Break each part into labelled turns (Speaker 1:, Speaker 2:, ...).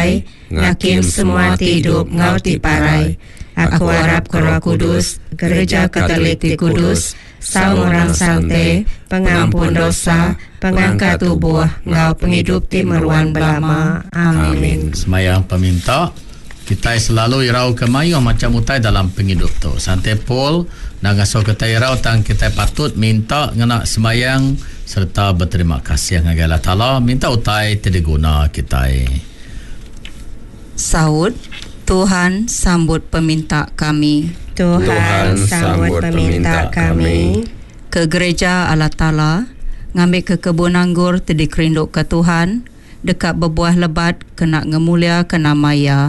Speaker 1: datai ngakim semua ti idup enggau ti parai. Aku arap ke Roh Kudus, Gereja Katolik ti kudus, saum orang sante, pengampun dosa, pengangkat tubuh, enggau pengidup ti meruan belama. Amin.
Speaker 2: Semayang peminta. Kitai selalu irau ke mayuh macham utai dalam pengidup tu. Sante Paul enda ngasuh kitai irau tang kitai patut minta ngena sembayang sereta beterima kasih ngagai Allah Taala minta utai ti diguna kitai.
Speaker 3: Saut, Tuhan sambut peminta kami.
Speaker 1: Tuhan sambut peminta kami.
Speaker 3: Ke Gereja Allah Taala, ngambika kebun anggur ti dikerinduka Tuhan, deka bebuah lebat kena ngemuliaka nama Iya.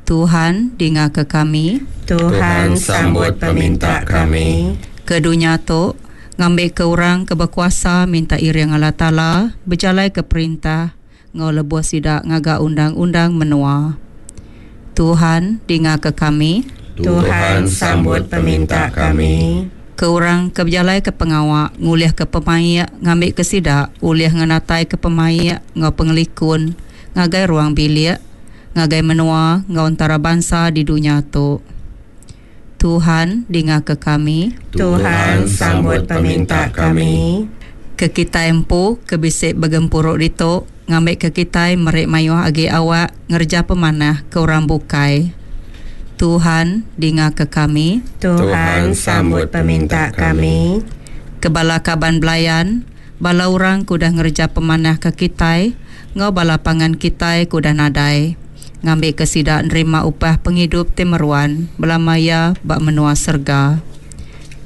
Speaker 3: Tuhan, dingaka kami.
Speaker 1: Tuhan, sambut peminta kami.
Speaker 3: Ke dunya tu, ngambika orang ke bekuasa minta iring Allah Taala bejalaika perintah enggau lebuh sida ngaga undang-undang menua. Tuhan, dingaka kami.
Speaker 1: Tuhan, sambut peminta kami.
Speaker 3: Ke orang ke bejalaika pengawa ngulihka pemaik ngambika sida ulih ngenataika pemaik enggau pengelikun ngagai ruang bilik, ngagai menua enggau entarabansa di dunya tu. Tuhan, dingaka kami.
Speaker 1: Tuhan, sambut peminta kami.
Speaker 3: Ke kitai empu ke bisi begempuru ditu ngambika kitai meri mayuh agi awak ngereja pemanah ke orang bukai. Tuhan, dingaka kami.
Speaker 1: Tuhan, sambut peminta kami.
Speaker 3: Ke bala kaban belayan, bala orang ke udah ngereja pemanah ke kitai, enggau bala pangan kitai ke udah nadai, ngambika sida nerima upah pengidup ti meruan belama iya ba menua serega.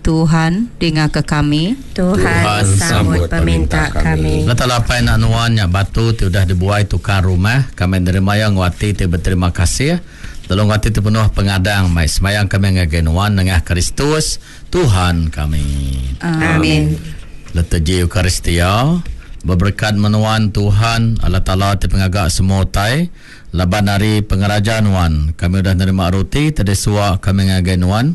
Speaker 3: Tuhan, dingaka kami.
Speaker 1: Tuhan, sambut peminta kami.
Speaker 2: Allah Taala Apai anak nuan nya batu ti udah dibuai tukang rumah, kami nerima iya enggau ati ti beterima kasih, lalu enggau ati ti penuh pengadang mai sembahyang kami ngagai nuan nengah Kristus, Tuhan kami.
Speaker 3: Amin.
Speaker 2: Liturgi Eucharistia, Beberekat meh nuan Tuhan, Allah Taala ti pengaga semua utai, laban ari pengeraja nuan kami udah nerima roti ti disua kami ngagai nuan,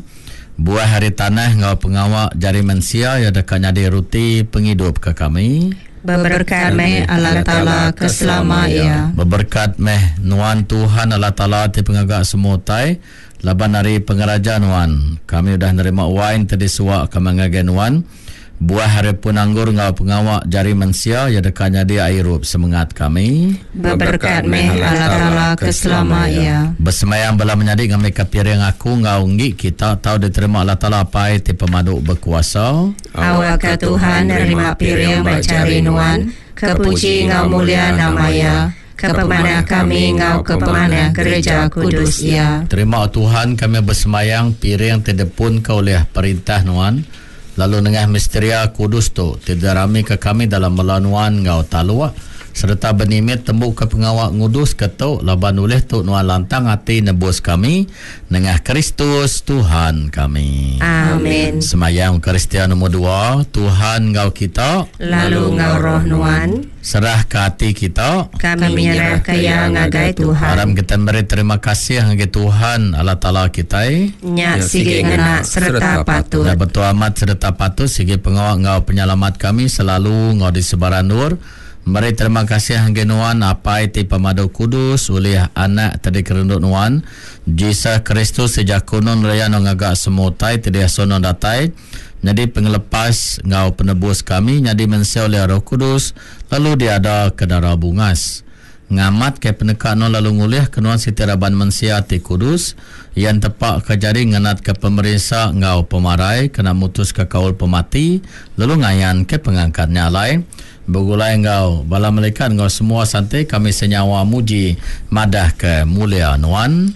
Speaker 2: Buah ari tanah enggau pengawa jari mensia iya deka nyadi ruti pengidup ke kami.
Speaker 1: Beberekat meh Allah Taala ke selama iya.
Speaker 2: Beberekat meh nuan Tuhan Allah Taala ti pengaga semua utai, laban ari pengeraja nuan kami udah nerima wain ti disua kami ngagai nuan. Buah ari pun anggur enggau pengawa jari mensia iya deka nyadi ai irup semengat kami.
Speaker 1: Beberekat meh Allah Taala ke selama iya.
Speaker 2: Besembayang bala menyadi ngambika piring aku enggau enggi kita tau diterima Allah Taala Apai ti pemadu bekuasa.
Speaker 1: Awakka Tuhan nerima piring ba jari nuan, ke puji enggau mulia nama Iya, ke pemanah kami enggau ke pemanah gereja kudus Iya.
Speaker 2: Terima Tuhan kami besembayang piring ti dipunka ulih perintah nuan. Lalu nengah misteria kudus tu, ti diramika kami dalam bela nuan enggau taluk, sereta benimit tembuka pengawa nguduska tu, laban ulih tu nuan lantang ati nebus kami, nengah Kristus Tuhan kami.
Speaker 1: Amin.
Speaker 2: Semayang Eucharistia Nomor dua, Tuhan enggau kita.
Speaker 1: Lalu enggau roh nuan.
Speaker 2: Serahka ati kita.
Speaker 1: Kami nyerahka iya ngagai Tuhan.
Speaker 2: Aram kitai meri terima kasih ngagai Tuhan Allah Taala kitai.
Speaker 1: Nya sigi ngena sereta patut.
Speaker 2: Nya betul amat sereta patut sigi pengawa enggau penyelamat kami selalu enggau di sebarang endur. Meri terima kasih ngagai Nuan Apai ti pemadu kudus ulih Anak ti dikerindu Nuan, Jesus Kristus ti jaku Nuan ngereja enggau ngaga semua utai ti diasuh Nuan datai. Nyadi pengelepas enggau penebus kami nyadi mensia ulih Roh Kudus lalu diada ke dara bungas. Ngamat ke peneka nuan lalu ngulih ke nuan siti raban mensia ti kudus, iya entepa ke jari ngenat ke pemerinsa enggau pemarai kena mutus ke kaul pemati lalu ngayan ke pengangkat nya alai begulai enggau bala melikat enggau semua sante kami senyawa muji madah ke mulia nuan.